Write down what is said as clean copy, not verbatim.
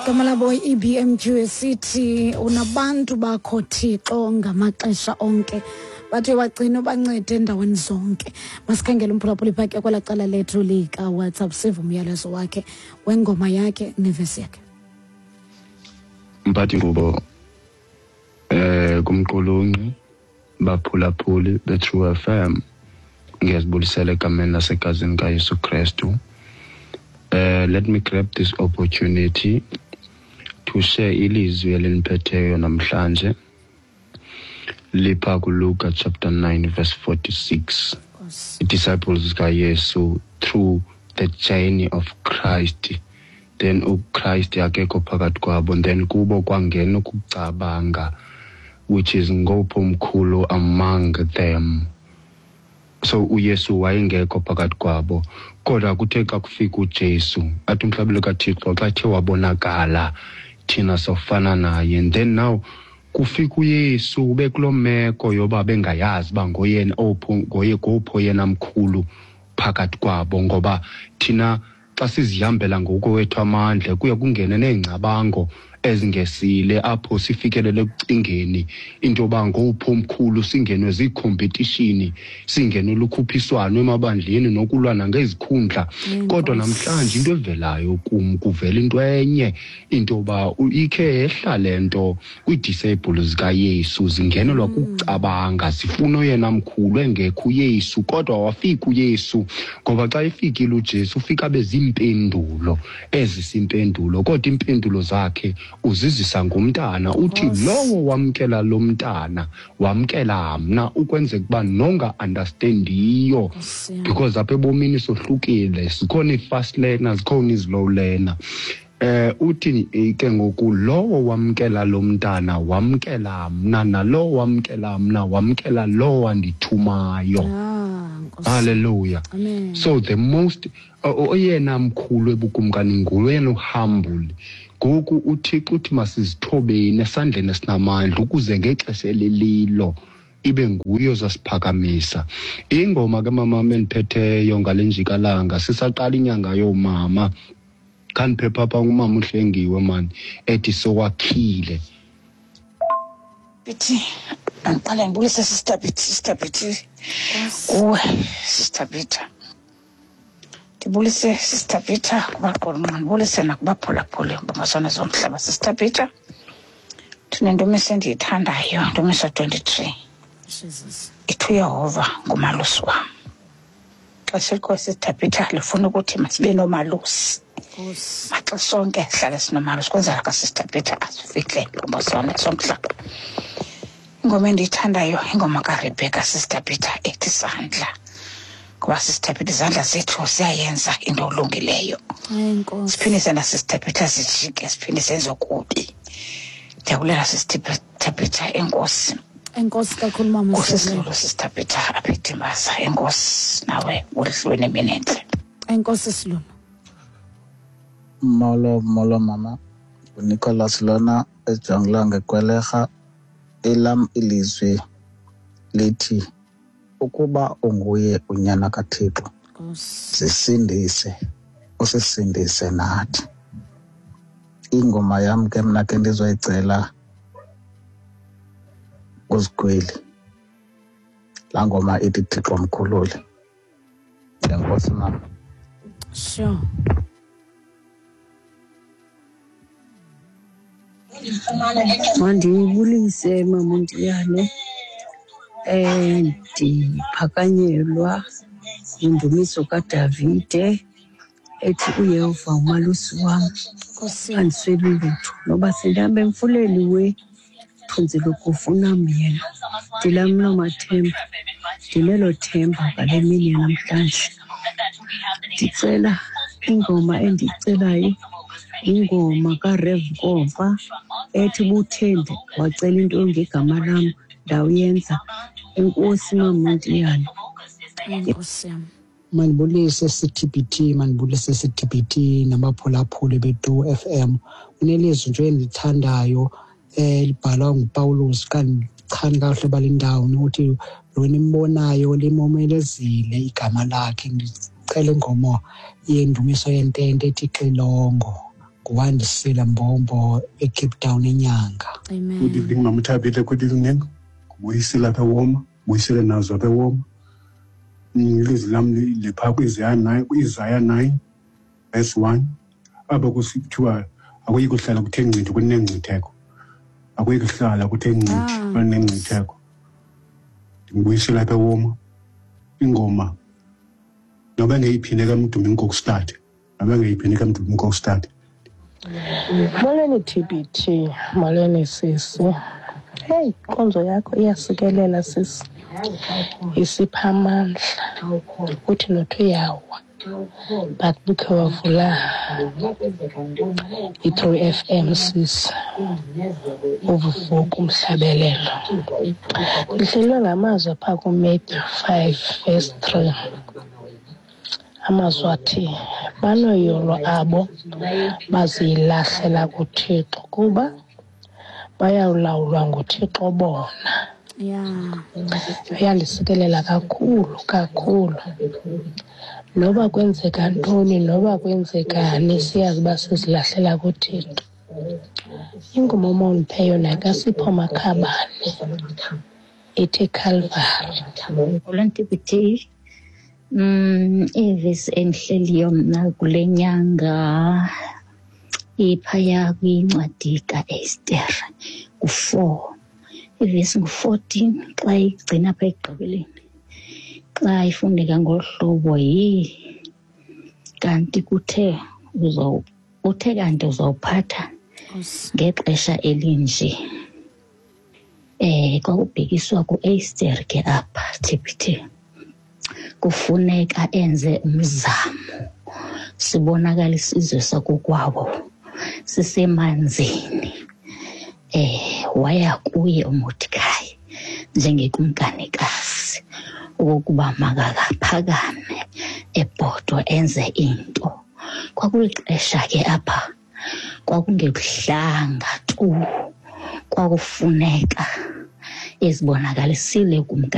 Gama labo i-EBMQ esithi unabantu bakho Thixo ngamaxesha onke, bathi wagcina ubancede endaweni zonke. Masikhangele umphulaphuli phake kwela cala lethu lika-WhatsApp, sive umyalezo wakhe wengoma yakhe nevesi yakhe. Mphathi ngubo kumqulunqi, baphulaphuli be-True FM, ngiyazibulisela egameni lasegazini kaYesu Kristu. Let me grab this opportunity to share ilizwi eliniphetheyo namhlanje, lipha kuLuka chapter 9 verse 46. Disciples zikaYesu through the journey of Christ, then uChrist akekho phakathi kwabo, then kubo kwangena ukucabanga, which is ngopho omkhulu among them. So uYesu wayengekho phakathi kwabo, kodwa kuthe xa kufika uJesu, athi umhlabelo kaThixo xa ethe wabonakala, thina sofana naye. And then now kufika uYesu ube kuloo meko yoba bengayazi uba ngoyena opho, ngoye ngopho yena mkhulu phakathi kwabo, ngoba thina xa sizihambela ngokwethu amandla kuye kungene neengcabango ezingesile apho sifikelele ekucingeni into yoba ngowuphi omkhulu, singenwe ziikhompetishini, singenwe lukhuphiswano emabandleni nokulwa nangezikhundla. Kodwa namhlanje into evelayo kum, kuvela into enye, into yoba ikhe yehla le nto kwii-disciples zikaYesu, zingenelwa kukucabanga, zifuna oyena mkhulu engekho uYesu. Kodwa wafika uYesu, ngoba xa efikile uJesu ufika abe ziimpendulo ezisimpendulo, kodwa iimpendulo zakhe uzizisa ngomntana. Uthi lowo wamkela lo mntana wamkela mna, ukwenzeka uba nonga-understandiyo, because apha ebomini sohlukile, zikhona ii-fast learner, zikhona ii-slow learner. Uthi ke ngoku lowo wamkela lo mntana wamkela mna, nalowo wamkela mna wamkela lowo wandithumayo. Hallelujah. Amen. So the most oyena mkhulu ebukumkani nguye humble. Ngoku uThixo uthi masizithobeni esandleni esinamandla ukuze ngexesha elililo ibe nguye ozasiphakamisa. Ingoma ke mama endiphetheyo ngale njikalanga, sisaqala inyanga yoomama, khandiphepha apha ngumama uHlengiwe mani, ethi sowakhile. Bithi andiqale ndibulise Sister Bithi, Sister Bithi kuwe Sister Peter. Ndibulise Sister Peter kubaqulunqa, ndibulise nakubaphulaphuli bamazwana zomhlaba. Sister Peter, ndinendumiso endiyithandayo, ndumiso 23. Jesus. Ithi uYehova ngumalusi wam. Xesha elikhoyo Sister Peter lifuna ukuthi masibe nomalusi. Maxa sonke sihlale sinomalusi, kwenzela ka Sister Peter asifihle ngomazwana somhlaba. Ingoma endiyithandayo ingoma kaRebecca Sister Peter ethi sandla. Ngoba Sister Peter izandla zethu ziyayenza into olungileyo. Enkosi. Siphinde sena Sister Peter sijike, siphinde senze okubi. Ndiyabulela Sister Peter, enkosi. Enkosi kakhulu mama. Nkosi Silulu Sister Peter apha eDimbaza. Enkosi nawe ulihlweni nemini entle. Enkosi Silulu. Molo, molo mama. UNicholas lona ejongilanga eGwelerha. Elam ilizwi lithi ukuba unguye unyana kaThixo, zisindise, usisindise nathi. Ingoma yam ke mna ke ndizoyicela uZigwili. Laa ngoma ithi Thixo mkhulule. Enkosi mama. Sure. Mandibulise mama uNtiyane. Ndiphakanyelwa yindumiso kaDavide ethi uYehova umalusi wam, andisweli lutho, noba sendihamba emfuleni we thunzi lokufa unam yena. Ndilam loo mathemba, ndinelo themba ngale mini yanamhlanje. Ndicela ingoma endiyicelayo, ingoma kaRev Nkomfa ethi buthende wacela into ngegama lam ndawuyenza. Enkosi mama uNtiyane. Enkosi yam. Mandibulise CTBT, mandibulise CTBT nabaphulaphuli beTru FM. Unelizwi nje endilithandayo elibhalwa nguPawulos, xa ndichani kakuhle bale ndawo, uthi lo nimbonayo limomelezile igama lakhe. Ndicela ingoma yendumiso yentente ethi xilongo. Nguwandisile Mbombo eCape Town eNyanga. Amen. Good evening, Mama Thabile. Good evening. Kubuyisile apha eWoma, buyisile nazo apha eWoma. Ilizwi lam liphaa kwiIsaya 9, kwiIsaya 9 verse 1. Apho kusithiwa akuyi kuhlala kuthe ngcithi kunengcitheko. Akuyi kuhlala kuthe ngcithi kunengcitheko. Ndibuyisile apha eWoma. Ingoma noba engeyiphinde kaMdumi Nkokstad. Noba engeyiphinde kaMdumi Nkokstad. Molweni TBT, molweni sisi. Heyi, inkonzo yakho iyasikelela sisi, isipha amandla. Uthi nothi uyawa but bukhe wavula i-True FM sisi, uvuvuka umhlabelelo. Ndihlelwe ngamazwi apha kuMatthew 5 verse 3. Amazwi athi, banoyolo abo bazilahlela kuThixo kuba bayawulawulwa nguThixo bona. Uyandisikelela kakhulu kakhulu. Noba kwenzeka ntoni, noba kwenzekani, siyazi uba sizilahlela kuThixo. Ingoma omawundiphe yona kaSipho Makhabane ithi Calvary. Molweni TBT. Ivesi endihleliyo mna kule nyanga iphaya kwincwadi kaEsther ku-4, ivesi ngu-14 xa igcina apha ekugqibeleni. Xa ifundeka ngolu hlobo, yi kanti kuthe uthe kanti uzawuphatha ngexesha elinje. Kwakubhekiswa kuEsther ke apha TBT. Kufuneka enze umzamo, sibonakala isizwe sakokwabo sisemanzini. Waya kuye uMordekayi njengekumkanikazi okokuba makakaphakame ebhodwa enze into. Kwakulixesha ke apha kwakungekuhlanga tu, kwakufuneka ezibonakalisile kumkani.